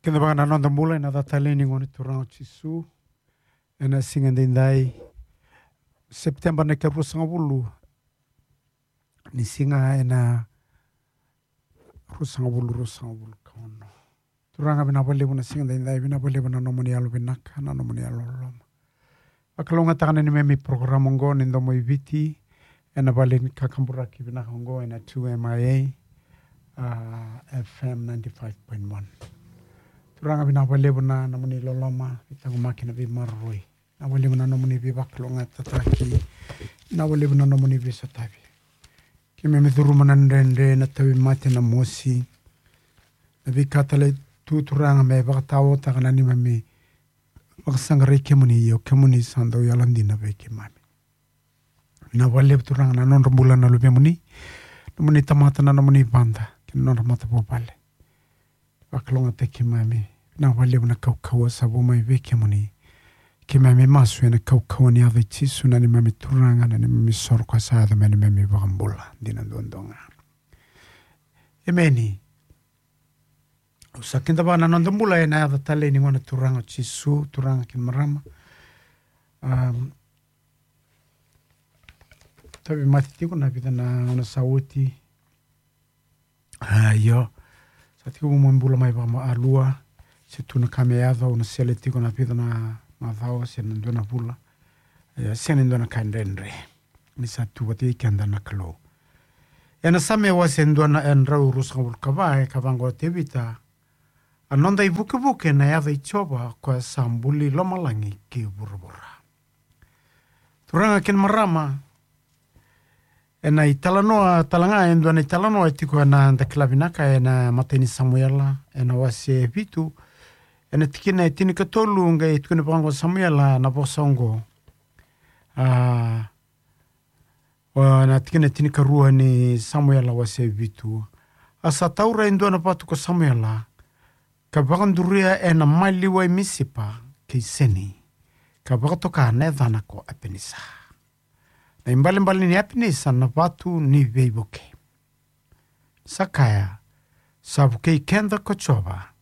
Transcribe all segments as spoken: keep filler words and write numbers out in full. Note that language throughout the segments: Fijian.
Keda vaka na noda bula ena yaca talei ni Gone Turaga o Jisu. Ena siga daidai, Sepiteba na ikaruasagavulu. Ni siga ena ruasagavulu, ruasagavulu ka ono. Turaga, vinaka vakalevu na siga daidai, vinaka vakalevu na nomuni yalo vinaka, na nomuni yalo loloma. Vakalougatataka na neimami porokaramu oqo ni Domo i Viti, ena vale ni kakaburaki vinaka oqo ena two M I A, ah, F M ninety-five point one. Turaga, vinaka vakalevu na nomuni loloma, veitaqomaki, na veimaroroi. Vinaka vakalevu na nomuni veivakalougatataki, vinaka vakalevu na nomuni veisotavi. Keimami curuma na dredre, na tauvimate, na mosi, na veika tale tu, Turaga, me vakataotaka na neimami vakasaqarai kemuni, ia o kemuni sa dau yalodina vei keimami. Vinaka vakalevu, Turaga, na nodra bula na luvemuni, nomuni tamata, na nomuni vada kei na nodra matavuvale. Vakalougatataki keimami. Vinaka vakalevu na kaukauwa sa vu mai vei kemuni. Keimami masu ena kaukauwa ni yaca i Jisu, na neimami Turaga, na neimami isoro ka sa yaco me neimami iVakabula dina duadua ga. Emeni. Au sa kidavaka na noda bula ena yaca talei ni Gone Turaga o Jisu, turaga kei na marama. Am, tauvimate tiko na vica na gauna sa oti. Ah, io. Sa tiko mo bula mai vakamalua. Se tu na ka me yaco, au na sele tiko na vica na macawa se na dua na vula. Ia, sega ni dua na ka e dredre ni sa tu vata kei keda na Kalou. Ena Same wase dua na, e drau ruasagavulu ka va, e kaya vaqo o Tevita: A noda ivukevuke na yaca i Jiova, o koya sa buli lomalagi kei vuravura. Turaga kei na marama, ena italanoa tale ga, e dua na italanoa e tiko ena, da kila vinaka, ena imatai ni Samuela, ena wase vitu, ena tikina e tinikatolu, qai tukuna vaqo o Samuela na vosa oqo. Ah, o na tikina e tinikarua ni Samuela wase vitu. A sa taura e dua na vatu ko Samuela, ka vakaduria ena maliwa i Misipa kei Seni, ka vakatoka na yacana ko Epenisa. Na ibalebale ni Epenisa na vatu ni veivuke. Sa kaya: Sa vukei keda ko Jiova,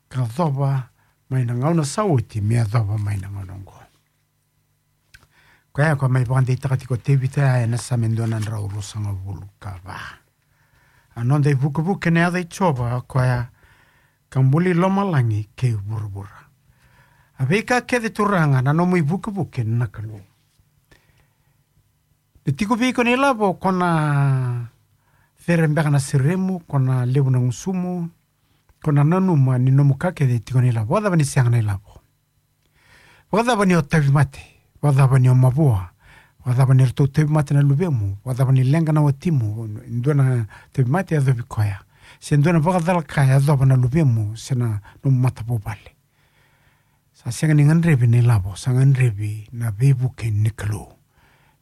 ka yacova mai na gauna sa oti me yacova mai na gauna oqo. Koya, koya mai vakadeitaka tiko o Tevita ya ena Same dua na drau ruasagavulu ka va. A noda ivukevuke na yaca i Jiova, o koya ka buli lomalagi kei vuravura. A veika kece, Turaga, na nomu ivukevuke na Kalou. Ni tiko vei iko na ilavo, ko na cere beka na seremu, ko na levu na gusumu, ko na nanuma ni nomu ka kece e tiko na ilavo. Vakacava ni sega na ilavo? Vakacava ni o tauvimate? Vakacava ni o mavoa? Vakacava ni ratou tauvimate na luvemu? Vakacava ni leqa na watimu? Dua na tauvimate e yacovi koya, se dua na vakacalaka e yacova na luvemu se na nomu matavuvale. Sa sega ni gadrevi na ilavo, sa gadrevi na veivuke ni Kalou.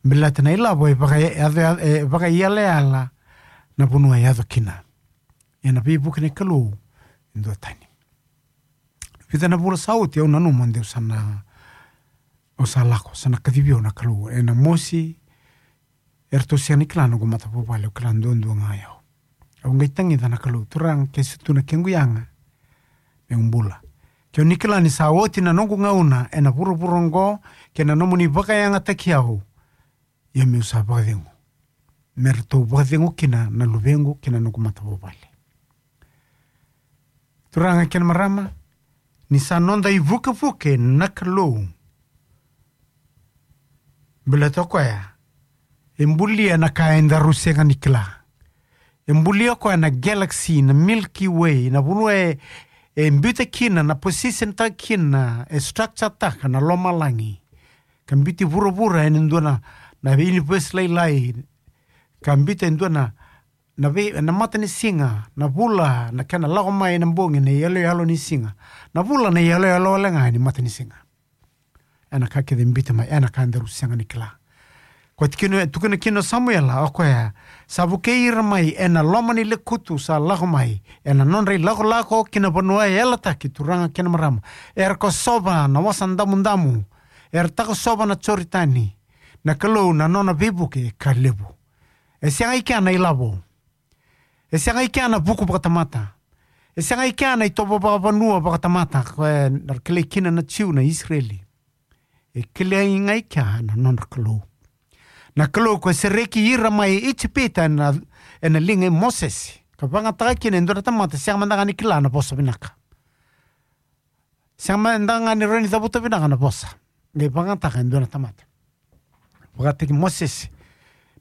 Baleta na ilavo e vaka, e yaco, e vakaiyalayala na vanua e yaco kina. Ia na veivuke ni Kalou e duatani. Vica na vula sa oti, au nanuma de au sa na, au sa lako, sa na kacivi au na Kalou ena mosi. Eratou sega ni kila na noqu matavuvale, au kila duadua ga o yau. Au qai tagica na Kalou, Turaga, ke se tu na kequ yaga, meu bula. Keu ni kila ni sa oti na noqu gauna ena vuravura oqo, kei na nomuni vakayagataki au, ia meu sa vakacegu, me ratou vakacegu kina na luvequ kei na noqu matavuvale. Turaga kei na marama, ni sa noda ivukevuke na Kalou. Baleta o koya e bulia na ka edaru sega ni kila. E bulia o koya na galaxy, na Milky Way, na vanua e, e biuta kina, na position taka kina, e structure taka na lomalagi. Ka biuti vuravura ena dua na, na universe lailai. Ka biuta e dua na, na vei, na matanisiga, na vula, na kena lako mai na bogi, na iyaloyalo ni siga. Na vula na iyaloyalo wale ga ni matanisiga. Ena ka kece e biuta mai, ena ka edaru sega ni kila. Ko tikina, tukuna kina o Samuela, o koya, sa vukei ira mai ena loma ni lekutu, sa lako mai ena nodra ilakolako ki na vanua e yalataki, turaga kei na marama. Era kosova na Wasa Damudamu, era takosova na Joritani. Na Kalou na nona veivuke ka levu. E sega i kea na ilavo. E sega i kea na vuku vakatamata. E sega i kea na itovo vakavanua vakatamata ko e na kilai kina na Jiu na Isireli. E kilai ga i kea na nodra Kalou. Na Kalou ko e sereki ira mai Ijipita ena, ena liga i Mosese. Ka vagataka kina e dua na tamata sega mada ga ni kila na vosa vinaka. Sega mada ga ni rawa ni cavuta vinaka na vosa. Qai vagataka e dua na tamata. Vakataki Mosese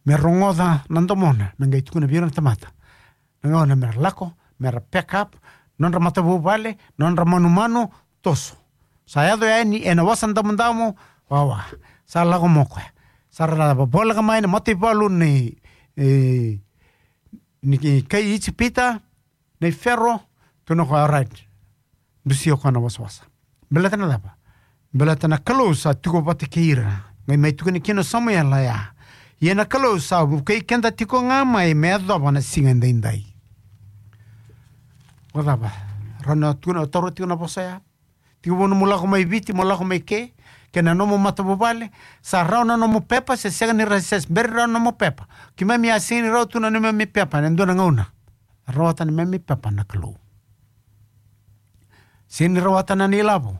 me rogoca na domona, me qai tukuna vei ira na tamata. Na gauna me ra lako, me ra pack up, nodra matavuvale, nodra manumanu, toso. Sa yaco yani ena Wasa Damudamu, wawa. Sa lako mai o koya. Sa ra voleka mai na mataivalu ni, e, ni kai Ijipita, nei Fero, tukuna o koya, alright. Dusia o koya na wasawasa. Baleta na cava? Baleta na Kalou sa tiko vata kei ira. Qai mai tukuna kina o Samuela ya. Ia na Kalou sa vukei keda tiko ga mai me yacova na siga edaidai. Vakacava? Rawa ni o tukuna, o taura tiko na vosa ya. Tiko vou nomu lako mai Viti, mo lako mai ke, kei na nomu matavuvale, sa rawa na nomu pepa, se sega ni rawa, se bera ni rawa na nomu pepa. Keimami a sega ni rawa tu na neimami pepa, ena dua na gauna. Rawata na neimami pepa na Kalou. Sega ni rawata na neilavo.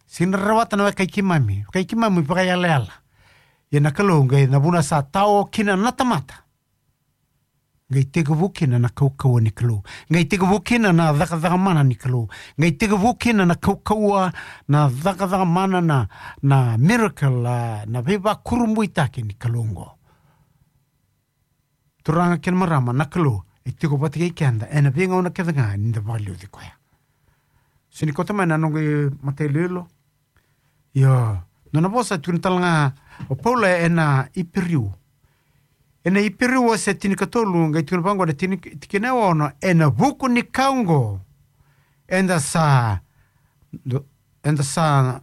Sega ni rawata na wekai keimami. Wekai keimami vakayalayala. Ia na Kalou, qai na vuna sa tao kina na tamata. Qai tekivu kina na kaukauwa ni Kalou. Qai tekivu kina na cakacaka mana ni Kalou. Qai tekivu kina na kaukauwa, na cakacaka mana, na, na miracle, a, na veivakurabuitaki ni Kalou oqo. Turaga kei na marama, na Kalou e tiko vata kei keda ena veigauna kece ga ni da vakaliuci koya. Sa ni kauta mai na noqu matailoilo. Io, nona vosa tukuna tale ga o Paula ena Iperiu. Ena Iperiu wase tinikatolu, qai tukuna vaqo na tini, tikina e ono, ena vuku ni ka oqo, eda sa, do-, eda sa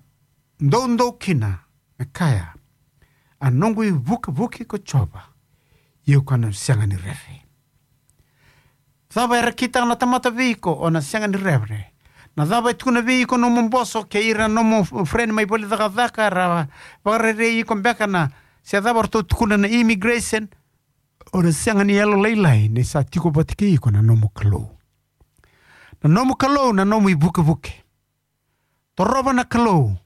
doudou kina, me kaya, a noqu ivukevuke ko Jiova, ia au na sega ni rere. Cava era kitaka na tamata vei iko, o na sega ni rere. Na cava e tukuna vei iko nomu boso, kei ira nomu friend mai vale ni cakacaka, era vakarerei iko beka na, se cava ratou tukuna na immigration, o na sega ni yalolailai, ni sa tiko vata kei iko na nomu Kalou. Na nomu Kalou, na nomu ivukevuke. Torova na Kalou.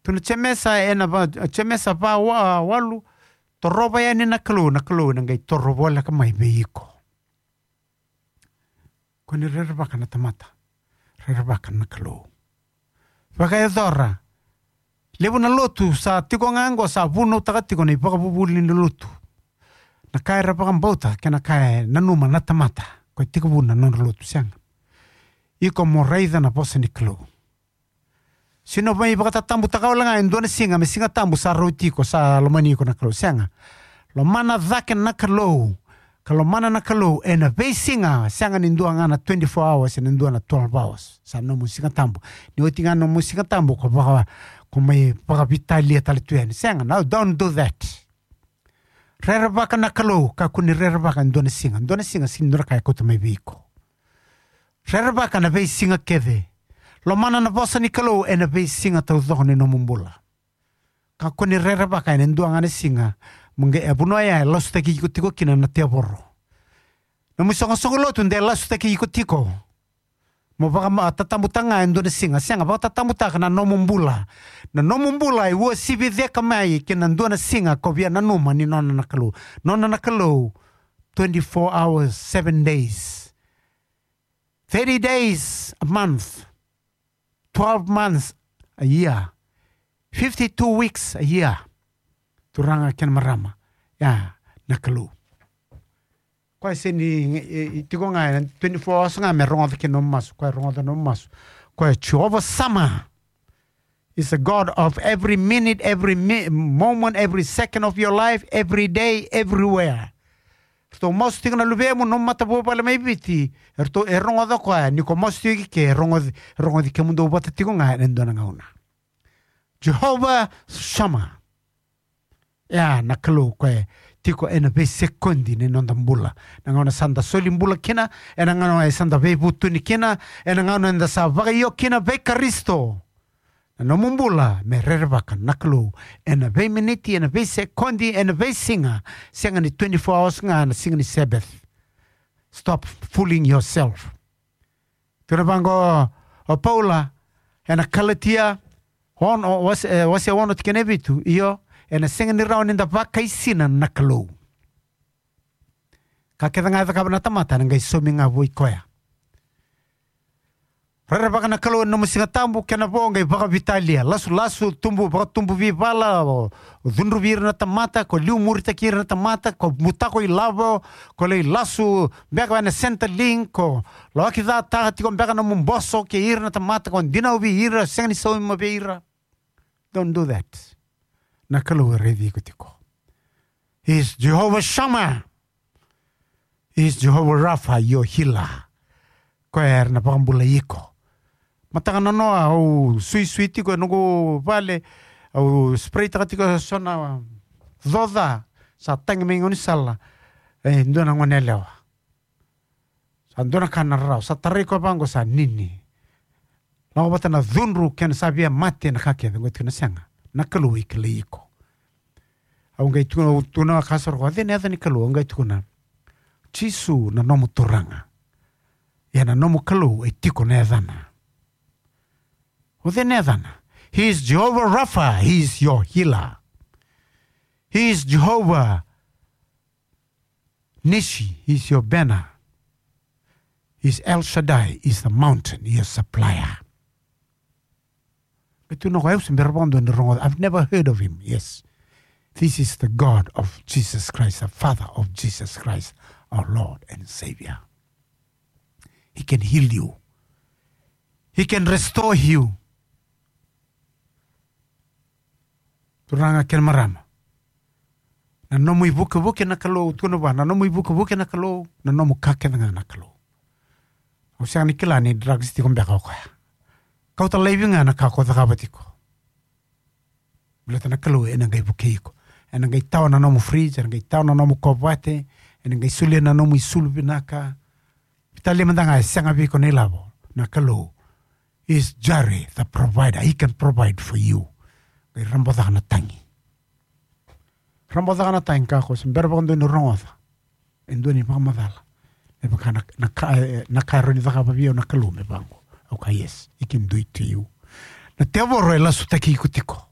Tukuna o Jemesa ena va-, Jemesa va wa-, walu. Torova yani na Kalou, na Kalou ena qai toro voleka mai vei iko. Kua ni rerevaka na tamata. Rerevaka na Kalou. Vakayacora. Levu na lotu sa tiko ga oqo sa vunautaka tiko na ivakavuvuli ni lotu. Na ka era vakabauta kei na ka e nanuma na tamata. Ko e tekivu na nodra lotu, sega. Iko mo raica na vosa ni Kalou. Sega ni o mai vakatatabutaka wale ga e dua na siga, me Siga Tabu sa rauti iko, sa lomani iko na Kalou, sega. Lomana cake na Kalou, ka lomana na Kalou ena veisiga, sega ni dua ga na twenty-four hours, ena dua na twelve hours. Sa nomu Siga Tabu. Ni oti ga nomu Siga Tabu, ko vaka, ko mai vakavitalia tale tu yani. Sega, no, don't do that. Rerevaka na Kalou, kakua ni rerevaka e dua na siga. Dua na siga, sega ni dua na ka e kauta mai vei iko. Rerevaka na veisiga kece. Lomana na vosa ni Kalou ena veisiga taucoko ni nomu bula. Kakua ni rerevaka ena dua ga na siga. Mo qai e vanua ya e lasutaki iko tiko kina na tevoro. Nomu isoqosoqo lotu de lasutaki iko tiko. Mo vakatatabuta ga e dua na siga. Sega, vakatatabutaka na nomu bula. Na nomu bula e uasivi cake mai kei na dua na siga ko via nanuma ni nona na Kalou. Nona na Kalou, twenty-four hours, seven days. Thirty days a month. Twelve months a year. Fifty-two weeks a year. Turaga kei na marama. Ya, na Kalou. Koya sega ni, e, e, tiko ga ena twenty-four hours ga me rogoca kina nomu masu. Koya rogoca nomu masu. Koya Jehovah Shammah is a God of every minute, every mi-, moment, every second of your life, every day, everywhere. Ratou masu tiko na luvemu, nomu matavuvale mai Viti. Ratou e rogoca koya, ni ko masu tiko i ke, e rogoci, e rogoci kemudou vata tiko ga ena dua na gauna. Jehovah Shammah. Ya, na Kalou koya e tiko ena veisekodi ni noda bula. Na gauna sa da soli bula kina, ena gauna sa da veivutuni kina, ena gauna eda sa vakaio kina vei Karisito. Na nomu bula me rerevaka na Kalou ena veiminiti, ena veisekodi, ena veisiga, sega ni twenty-four hours ga na siga ni Sabbath. Stop fooling yourself. Tukuna vaqo o Paula ena Kalatia ono, wase, e, wase ono tikina e vitu, io, ena sega ni rawa ni da vakaisina na Kalou. Ka kece ga e cakava na tamata ena qai saumi ga vua i koya. Rerevaka na Kalou ena nomu Siga Tabu, kena vo qai vakavitalia. Lasulasu, tubu, vakatubu veivala, o, o cudruvi ira na tamata, ko liumuritaki ira na tamata, ko butako ilavo, ko lai lasu beka ena Centrelink, ko lawaki cataka tiko beka nomu boso kei ira na tamata, ko dinau vei ira, sega ni sauma vei ira. Don't do that. Na Kalou e raici iko tiko. He is Jehovah Shammah. He is Jehovah Rapha, your healer. Koya era na vakabulai iko. Mataka nanoa au suisui tiko e noqu vale, au spray taka tiko e so na coca, sa tagi mai gaunisala. E dua na gone yalewa. Sa dua na ka na rarawa, sa tarai koya vaqo, sa nini. Lako vata na cudru kei na sa via mate na ka kece, qai tukuna sega. Na Kalou e kilai iko. Au qai tukuna, au tukuna ga ka sara ko, o cei na yaca ni Kalou, au qai tukuna. Jisu na nomu Turaga. Ia na nomu Kalou e tiko na yacana. O cei na yacana? He is Jehovah Rapha, he is your healer. He is Jehovah Nissi, he is your banner. He is El Shaddai, he is the mountain, he is supplier. Qai tukuna o koya, au se bera vakadua ni rogoca. I've never heard of him. Yes. This is the God of Jesus Christ, the Father of Jesus Christ, our Lord and Savior. He can heal you. He can restore you. Turaga kei na marama. Na nomu ivukevuke na Kalou, tukuna vua, na nomu ivukevuke na Kalou, na nomu ka kece ga na Kalou. Au sega ni kila ni drugs tiko beka o koya. Kauta laivi ga na ka ko cakava tiko. Baleta na Kalou ena qai vukei iko. Ena qai tawa na nomu fridge, ena qai tawa na nomu kovate, ena qai solia na nomu isulu vinaka. Vitalia mada ga e sega vei iko na ilavo. Na Kalou is Jireh, the provider. He can provide for you. Qai raba caka na tagi. Raba caka na tagi, ka ko se bera vakadua ni rogoca e dua ni vakamacala. Me vaka na, na ka, e, na ka e rawa ni cakava vei au na Kalou me vaqo. Au kaya, yes, he can do it to you. Na tevoro e lasutaki iko tiko.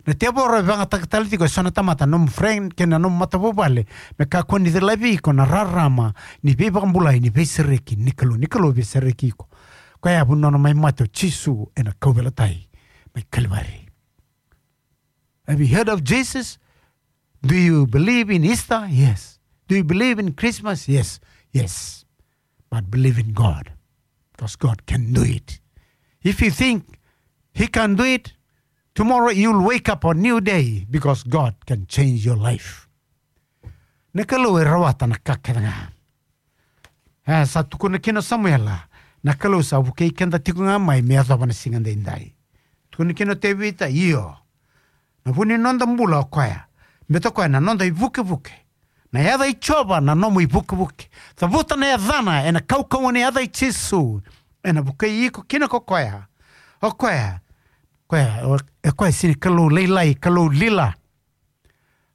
Na tevoro e vagataka tale tiko e so na tamata, nomu friend kei na nomu matavuvale, me kakua ni cilavi iko na rarama ni veivakabulai, ni veisereki ni Kalou, ni Kalou veisereki iko. Koya e vunau na mai mate o Jisu ena kauveilatai mai Kalivari. Have you heard of Jesus? Do you believe in Easter? Yes. Do you believe in Christmas? Yes. Yes. But believe in God. Because God can do it. If you think he can do it, tomorrow you'll wake up a new day because God can change your life. Na Kalou e rawata na ka kece ga. E, sa tukuna kina o Samuela, na Kalou sa vukei keda tiko ga mai me yacova na siga daidai. Tukuna kina o Tevita, io. Na vu ni noda bula o koya. Beta o koya na noda ivukevuke. Na yaca i Jiova na nomu ivukevuke. Cavuta na yacana ena kaukauwa ni yaca i Jisu. Ena vukei iko kina ko koya. O koya. Koya, o, e koya sega ni Kalou lailai, Kalou lila.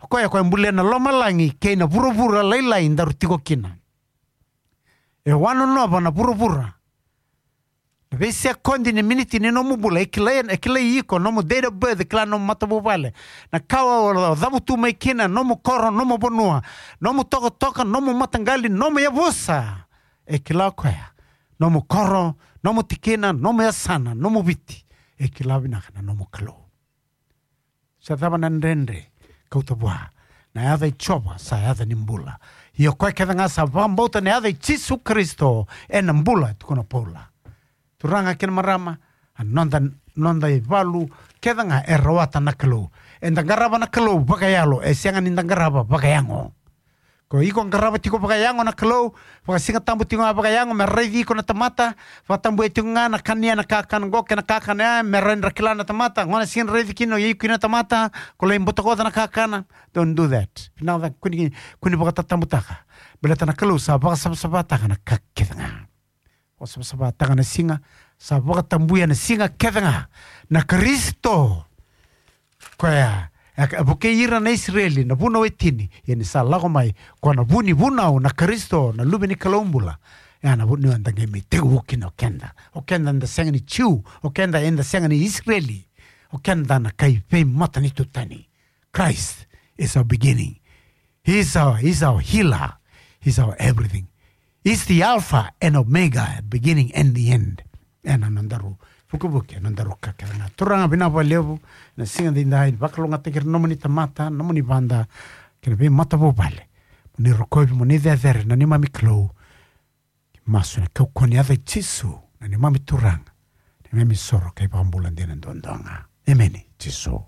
O koya, koya bulia na lomalagi kei na vuravura lailai daru tiko kina. E wanonova na vuravura. Na veisekodi ni miniti ni nomu bula, e kilai, e kilai iko, nomu date of birth, e kila nomu matavuvale. Na ka o, o cavutu mai kina, nomu koro, nomu vanua, nomu tokatoka, nomu mataqali, nomu yavusa. E kila o koya, nomu koro, nomu tikina, nomu yasana, nomu Viti. E kila vinaka na nomu Kalou. Sa cava na dredre, kauta vua. Na yaca i Jiova sa yaca ni bula. Ia o koya kece ga sa vakabauta na yaca i Jisu Karisito ena bula, tukuna o Paula. Turaga kei na marama, a noda, noda ivalu kece ga e rawata na Kalou. Eda qarava na Kalou vakayalo, e sega ni da qarava vakayago. Ko iko qarava tiko vakayago na Kalou, vakasigatabu tiko ga vakayago me raici iko na tamata, vakatabuya tiko ga na kania na kakana qo kei na kakana ya, me rawa ni ra kila na tamata, gona sega ni raici kina o iko kina na tamata, ko lai butakoca na kakana. Don't do that. Vinaka cake, kua ni, kua ni vakatatabutaka. Baleta na Kalou sa vakasavasavataka na ka kece ga. Vakasavasavataka na siga, sa vakatabuya na siga kece ga. Na Karisito. Koya, e, e vukei ira na Isireli, na vunau e tini, ia ni sa lako mai, ko na vu ni vunau na Karisito, na Luve ni Kalou bula. Ya na vanua eda qai mai tekivu kina o keda. O keda eda sega ni Jiu, o keda eda sega ni Isireli. O keda na kai veimatanitu tani. Christ is our beginning. He's our, he's our healer. He's our everything. He's the Alpha and Omega, beginning and the end. Ena nodaru vukevuke, nodaru ka kece ga. Turaga, vinaka vakalevu na siga edaidai, ni vakalougatataki ira na nomuni tamata, nomuni vada, kei na veimatavuvale. Mo ni rokovi, mo ni cecere na neimami Kalou. Masu ena kaukauwa ni yaca i Jisu, na neimami Turaga, neimami soro ka iVakabula dina duadua ga. Emeni, Jisu.